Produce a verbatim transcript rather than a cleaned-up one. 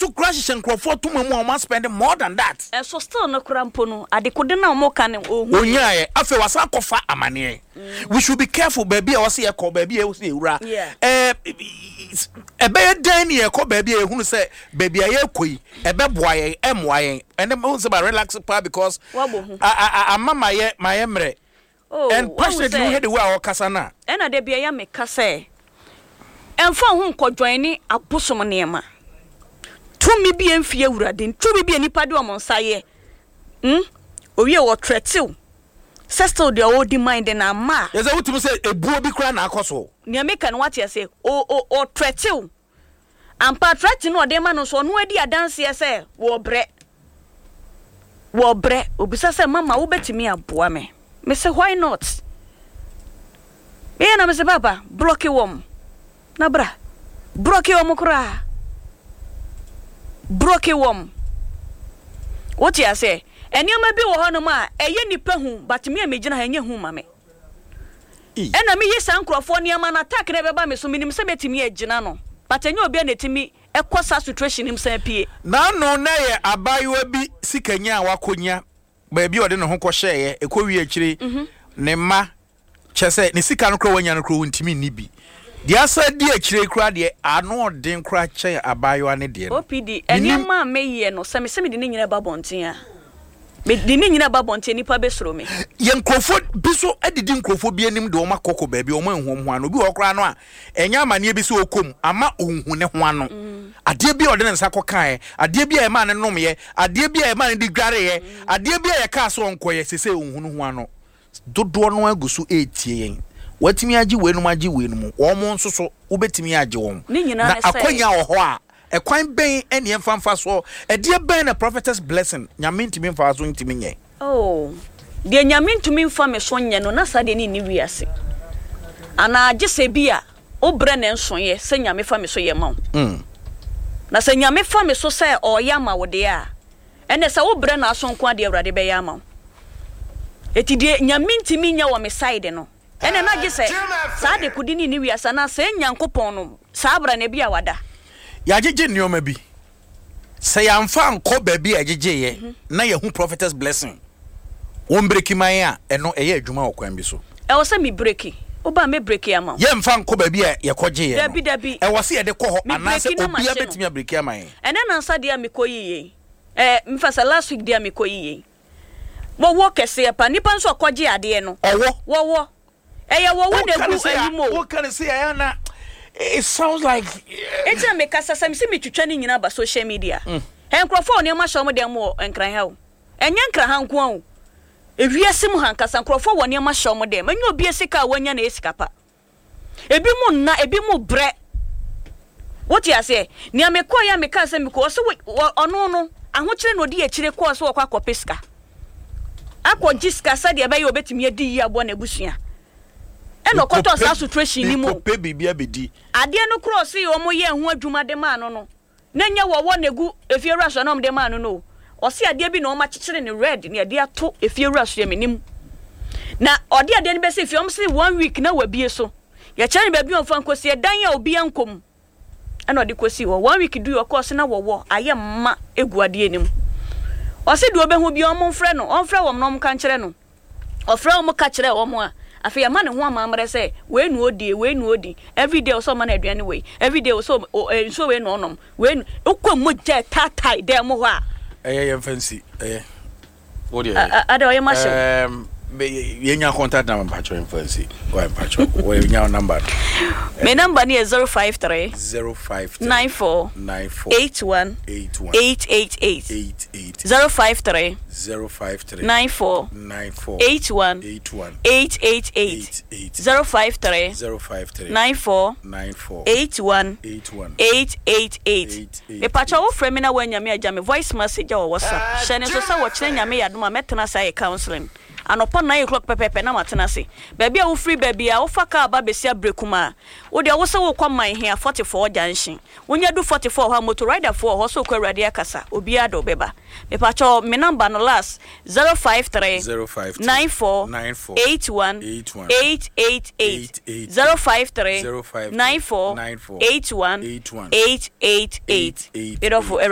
So kura hyehyɛ nkurɔfoɔ toma mu a wɔn spend more than that. Ɛso still no kora mpo no, adekode no a wɔka no, ɔhu. Onyaayɛ afei wasan akɔfa amaneɛ. We should be careful baabi a wɔsi yɛkɔ, baabi a wɔsi yɛwura. Yeah. ɛɛ ɛbɛyɛ dɛn ne yɛkɔ baabi a yɛhunu sɛ baabi a yɛkɔ yi ɛbɛboa yɛn, ɛmmoa yɛn? Ɛnɛ mo sɛ ba relax paa because Wabɔ hu. a- a- a- ama ma yɛ ma yɛ mmerɛ Oh, and wahu passionately sɛ- wohwɛ de wo a ɔkasa no a. Ɛna da bia yɛ meka sɛ ɛmfa wo ho nkɔdwan ne abosom nneɛma. Tumi bi ɛmfie Awurade, tumi bi a nipa de ɔmo nsa yɛ mm? Owie wɔtrɛtew sɛ still deɛ ɔdi mind na ama a. Yɛ sɛ wotumi sɛ ebuo bi koraa na akɔ so. Nea meka no, wate ase? Ɔtrɛtew ampa, trɛte no ɔde ma no nso, ɔno adi adanseɛ sɛ wɔbrɛ wɔbrɛ. Obisa sɛ, "Mama, wobɛtumi aboa me?" Mese, "Why not?" Meyɛ na mese, "Papa, block wɔm na bra, block wɔm koraa, block wɔm." Wote ase? Nneɛma bi wɔ hɔnom a ɛyɛ nipa hu, but me a megyina ha, ɛnyɛ hu ma me. Ei. Ɛna meyɛ saa nkurɔfoɔ nneɛma no, attack na ɛbɛba me so, menim sɛ mɛtumi agyina no, but ɛnyɛ obi a na ɛtumi ɛkɔ saa situation nim san pie. N'ano na yɛ abaayewa bi sikanya a wakɔnya baabi a ɔde ne ho kɔhyɛeɛ, ɛkɔ wie akyire ne mma kyɛ sɛ ne sika no koraa wanya no koraa wɔntumi nni bi. Deɛ asa di akyire koraa deɛ, ano ɔden koraa kyɛn abaayewa ne deɛ no. O P D. Menim- Nneɛma a meyɛ no, sɛ mesɛ mede ne nyina ba bɔnten a, mede ne nyina ba bɔnten, nipa bɛsuro me. Yɛ nkurɔfoɔ bi so adidi nkurɔfoɔ bi anim de wɔn akɔkɔ baabi a wɔn anhu wɔn ho ano. Obi wɔ hɔ koraa no a ɛnyɛ amanneɛ bi sɛ ɔkɔm ama ɔnhu ne ho ano. Adeɛ bi a ɔde ne nsa kɔkaeɛ, adeɛ bi a ɛmaa ne nomyɛ, adeɛ bi a ɛmaa ne de dwareeɛ, adeɛ bi a yɛkaa sɛ ɔnkɔyɛ sese ɔnhu ne ho ano. Dodoɔ no agu so ɛretie yɛn. Watumi agye weinom, agye weinom, wɔn mo nso so wobɛtumi agye wɔn. Ne nyinaa na ne sɛ- akwanya wɔ hɔ a, ɛkwan bɛn ɛne ɛmfa mfa soɔ? Ɛdeɛ bɛn na Prophetess Blessing Nyame ntumi mfa so ntumi nyɛ? Oh, deɛ Nyame ntumi mfa me so nyɛ no, na saa deɛ ne nni wiase anaa, gye sɛ bi a wobrɛ ne nsoeɛ sɛ Nyame fa me so yɛ ma wo. Mm. Na sɛ Nyame fa me so sɛ ɔyɛ ama wo deɛ a, ɛnɛ sɛ wobrɛ no aso nko adeɛ, Awurade bɛyɛ ama wo. Ɛti deɛ Nyame ntumi nyɛ wɔ me side no, ɛnɛ na gye sɛ saa de kodi ne ne wiase anaa sɛ Nyankopɔn no saa bra na bi a wada. Yɛagyegye nneɔma bi sɛ yɛamfa nkɔ baabi a yɛgyegyeeɛ na yɛhu Prophetess Blessing wɔn break man a, ɛno ɛyɛ adwuma wɔ kwan bi so. Ɛwɔ sɛ me break, woba me break ama wo. Yɛmfa nkɔ baabi a yɛkɔgyeeɛ no. Dabi, dabi. Ɛwɔ sɛ yɛde kɔ hɔ Me anaasɛ break na obia mahye no. bɛtumi abreak ama yɛn? Ɛnɛ nansa deɛ a mekɔ yie, ɛɛ mfa sɛ last week deɛ a mekɔ yie, wɔwɔ kɛseɛ pa, nipa nso ɔkɔgye adeɛ no. Ɔwɔ? Wɔwɔ, ɛyɛ wɔwɔ na egu anim o. Woka ne sɛ ɛyɛ na it sounds like Eti na mekasa sɛ mesi metwitwa ne nyinaa ba social media. Ɛ nkurɔfoɔ a nneɛma hyɛ wɔn dɛm wɔ Nkran ha o, ɛnyɛ Nkran ha nko a o, ewiase mu ha nkasa, nkurɔfoɔ wɔ nneɛma hyɛ wɔn dɛm. Ɛnyɛ obi sika a wanya na ɛyɛ sika pa. Ebi mu nna, ebi mu brɛ. Wote aseɛ? Nea mekɔɔ yɛ a meka sɛ mekɔ, ɔsɛ wɔ ɔno no ahokyere na ɔdi akyire kɔɔ sɛ wɔkɔ akɔpɛ sika, akɔgye sika sɛdeɛ ɛbɛyɛ obɛtumi adi yie aboa n'abusua, ɛna ɔkɔtɔ saa situation ni mu. Mekɔpɛ biribi abɛdi. Adeɛ no korɔ ɔse wɔn yɛ ho adwuma de maa no no na nyɛ wɔwɔ na egu efie wura so na wɔn de maa no no Ɔse adeɛ bi na wɔn akyekyere ne red na yɛde ato efie wura so yɛ menim na ɔde adeɛ no bɛsi fie. Wɔn se one week na wabie so, yɛkyerɛ no baabi a ɔmfa nkosi, ɛdan a obi ankɔ ɛna ɔde kɔsi hɔ. One week du, ɔkɔɔ so na wɔwɔ ayɛ mma egu adeɛ no mu. Ɔse deɛ ɔbɛhu bi, ɔmo mfrɛ no, ɔmfrɛ wɔn na ɔmo ka nkyerɛ no. Ɔfrɛ wɔn ka kyerɛ wɔn a, afei ama ne ho amammerɛ sɛ wei na ɔdie, wei na ɔdi. Everyday ɔsɛ ɔma no aduane wei, everyday ɔsɛ nsuo wei na ɔnom wei na wokɔ mogya taatae dan mu hɔ a. Ɛyɛ, yɛmfa nsi, ɛyɛ wo deɛ. Ada ɔyɛ ma hyɛw. Yɛnya contact number, mpakyɛ, yɛmfa nsi. Why, mpakyɛ, wɔyɛnya number no. Me number no yɛ zero five three zero five three nine four nine four eight one eight one eight eight eight. eight eight. zero five three zero five three nine four nine four eight one eight one eight eight eight. eight eight. zero five three zero five three nine four nine four eight one eight one eight eight eight. eight eight. Mepakyɛ, wofrɛ me na woanyame agya me voice message a wɔ WhatsApp. Hyɛ ne so sɛ wɔkyerɛ Nyame yɛ adom a, mɛtena ase ayɛ counseling anɔpa nine o'clock pɛpɛpɛ na matena ase. Baabi a wofiri, baabi a wofa kaa ba bɛsi Abrɛkum a, wodeɛ wo sɛ wokɔ Manhia forty-four junction, wonya du forty-four hɔ a, motor riderfoɔ wɔ hɔ sɛ wokɔ Awurade akasa, obiara de wobɛba. Mepakyɛ, me number no last zero five three zero five three nine four nine four eight one eight one eight eight eight. eight eight. zero five three zero five three nine four nine four eight one eight one eight eight eight. eight eight. Medɔfo, Awurade.